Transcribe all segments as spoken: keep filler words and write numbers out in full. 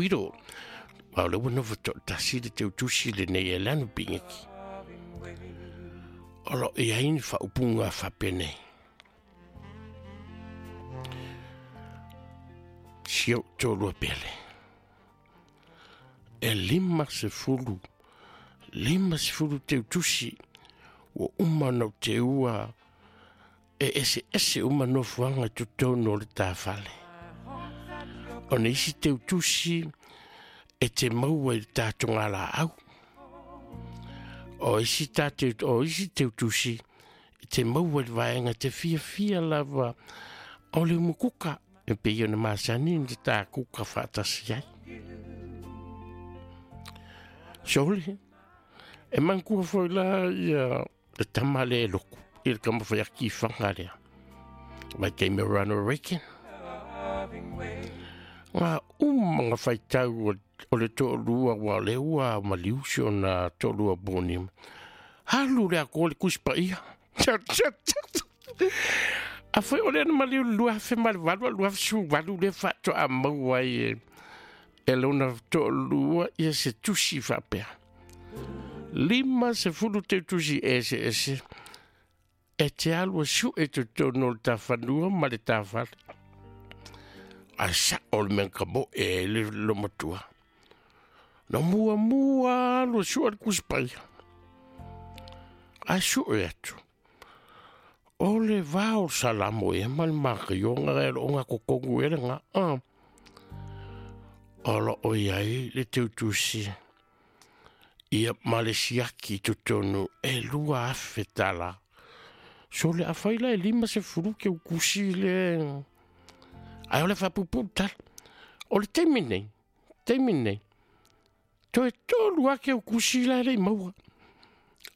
Wiro, wa le ua nofo to'atasi le teutusi lenei e lanu pigeki. O lo i ai ni faaupuga faapenei. Si ou toalua pele. E lima sefulu, lima sefulu teutusi, ua uma ona ou teua e eseese uma nofoaga i totonu o le tafale. O na isi teutusi e te maua i le tatogalaau. O isi tate, o isi teutusi e te maua i le vaega te fiafia lava o le umukuka e pei ona masani na ta kuka faatasi ai. Sole, e manatua foi la ia le tama lea e loku i le tamafaiaki i Faga lea. Mai taimi o Ronald Reagan. Ngā uma ngā faitau o le to'alua ua o lea ua maliu si ona to'alua boni. Alu le akoa le Tusi Paia. Afai o lea na maliu le lua afe ma le valu a lua afe sefuluvalu lea faatoa maua ai e e lona to'alua ia se tusi faapea. Lima sefulu teutusi eseese e te alu e su'e i totonu o le tafanua ma le tafale. Ae sa'o le mea na kamo'e ai le lomatua. Na muamua alu e su'a le Tusi Paia. Ae su'e atu. O le va o le Salamo ea ma le makaioga e loo gatotonu ea lena. O loo i ai le teutusi ia ma le siaki i totonu e lua afe tala. So le afai la e lima sefulu teutusi le ae o le faapuupuu tala. O le taimi nei, taimi nei, toe tolu lava teutusi la e le i maua.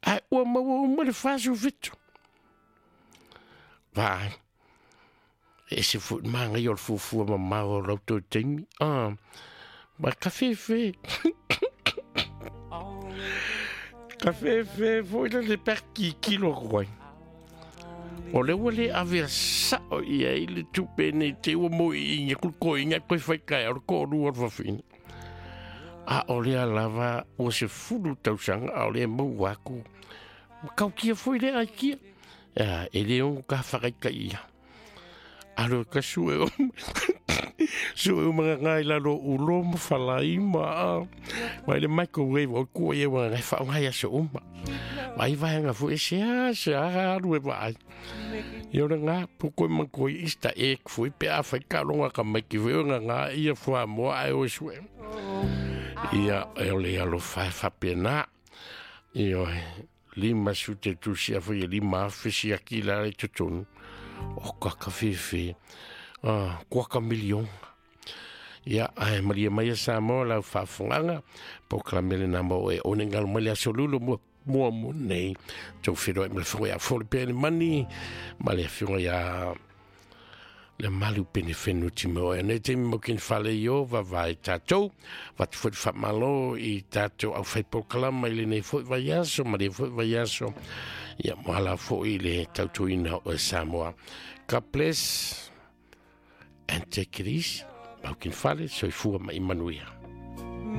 Ae ua maua uma le fa sefulufitu. Vaai, e ese foi le magaia o le fuafua mamao o lau toe taimi. Ah, ma kafefe. Kafefe foi le le pea kikilo atu ai. O lea ua le ave sa'o i ai le tupe nei te ua mo'iiga kulukoiga toe fai taeao le to'alua o le fafine. A o lea lava ua sefulu tausaga a o lea e maua atu. Ma tautia foi lea aikia. Ia, e le ono tafakaitaia. Alo e ka sue o sue uma ngā i lalo ulo ma falai ma mai le microwave o kua ia wa ngai wha ngai aso uma. Mai vaenga fu e se a se a alu e vaai. I ora ngā puko e manko i Easter egg fu i pe a whai ka longa ka mai ki weo ngā ngā ia fua moa ai o e sue. Ia e ole alofa e whapena. Ia lima su te tusi a fai e lima afe si aki la i totonu. O kaka fefe. Ah, kuaka milion. Ia, ae malia mai a Samoa lau faafofogaga, polokalame lena mo e one galo mai le aso lulu mua mua mo nei. Tou feiloai ma le afioga ia Fole Pea le Mani, ma le afioga ia le malu pene whenua ti me oe. Nei taimi mo kini whale i o, vavae tātou, watu foi whamalo i tātou au whai polokalama i lenei foi vai aso, ma le foi vai aso, ia mohala foi le tautuina o e Samoa. God bless and take it easy. Mau kini whale, soifua ma i manuia.